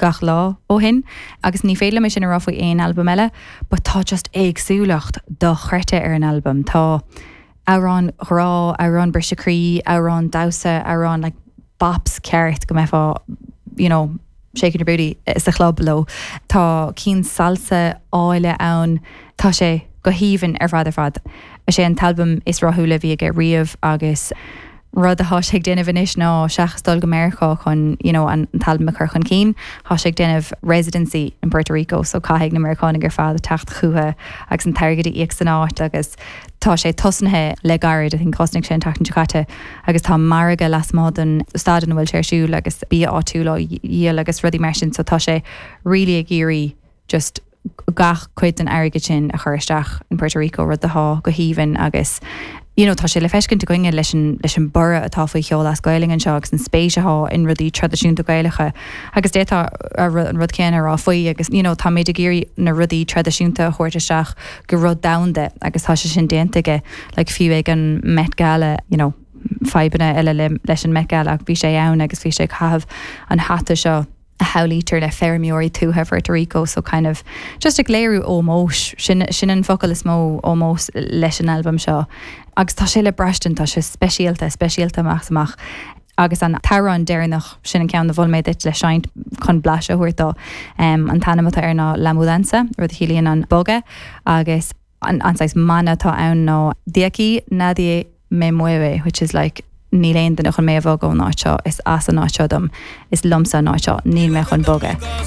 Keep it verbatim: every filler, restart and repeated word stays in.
gach lá ó shin agus ní féidir liom sin a rá faoi aon albam eile, but tá just éagsúlacht dochreidte ar an albam tá amhrán grá amhrán briseadh croí amhrán damhsa amhrán like, bops ceart go mbeifeá you know, shaking your booty sa chlub leo Tá cinn salsa áille ann tá sé go haoibhinn ar fad ar fad. Is é an t-albam is rathúla a bhí aige riamh agus rud atá sé ag déanamh anois ná seachas dul go Meiriceá chun you know, an t-albam a chur chun cinn, Tá sé ag déanamh residency in Puerto Rico, so caithfidh na Meiriceánaigh ar fad teacht chuige agus an t-airgead a íoc san áit agus tá sé tosnaithe le gairid a thosnaigh sé an tseachtain seo caite agus tá margadh lasmuigh den staid ina bhfuil sé ar siúl agus bia áitiúil á dhíol agus rudaí mar sin so tá sé really ag iarraidh just gach cuid den airgead sin a chur isteach in Puerto Rico rud atá go haoibhinn agus you know, tá sé le feiscint againne leis an leis an borradh atá faoi cheol as Gaeilge anseo agus an spéis atá in rudaí traidisiúnta Gaelacha agus d'fhéadfá an rud céanna a rá faoi agus you know, tá méid ag iarraidh na rudaí traidisiúnta a thabhairt isteach go rud domhanda agus tá sé sin déanta aige like, fiú ag an Met Gala you know, fadhbanna eile le, leis an Met Gala ach bhí sé ann agus bhí sé ag caitheamh an hata seo a shamhlaítear le feirmeoirí tuaithe Puerto Rico so kind of just ag léiriú ómós sin sin an focal is mó ómós leis an albam seo agus tá sé le braistint tá sé speisialta speisialta amach amach agus an t-amhrán deireanach sin an ceann a mhol mé duit le seinnt chun blaiseadh a thabhairt dó um, an t-ainm atá air ná La Mudanza rud a chiallaíonn an bogadh agus an an mana atá ann ná De aquí nadie me mueve which is like níl aon duine chun mé a bhogadh ón áit seo is as an áit seo dom is liomsa an áit seo níl mé chun bogadh.